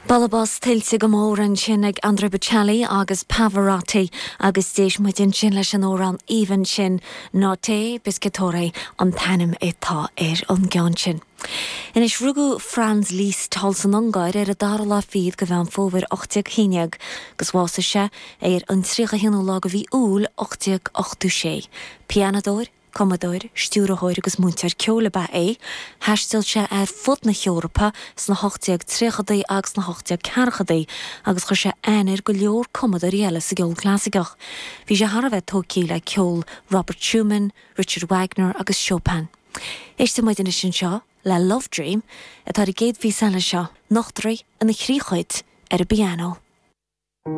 Bualadh bos tuillte go mór ansin ag Andrea Bocelli agus Pavarotti agus d'éist muid ansin leis an amhrán aoibhinn sin, Notte Pescatore an t-ainm atá ar an gceann sin. Anois, rugadh Franz Liszt thall san Ungáir ar an dara lá fichead de Mheán Fómhair 1811 agus bhásaigh sé ar an 31ú lá de mhí Iúil 1886. Pianadóir, Cumadóir, stiúrthóir agus múinteoir ceoil ab ea é. Thaistil sé ar fud na hEorpa sna 1830idí agus sna 1840idí agus chuir sé aithne ar go leor cumadóirí eile sa gceol clasaiceach. Bhí sé thar a bheith tógtha le ceol Robert Schumann, Richard Wagner agus Chopin. Éistfidh muid anois anseo le Love Dream, atá ar an gcéad phíosa eile seo. Nochtar é ina thrí chuid ar an bpianó.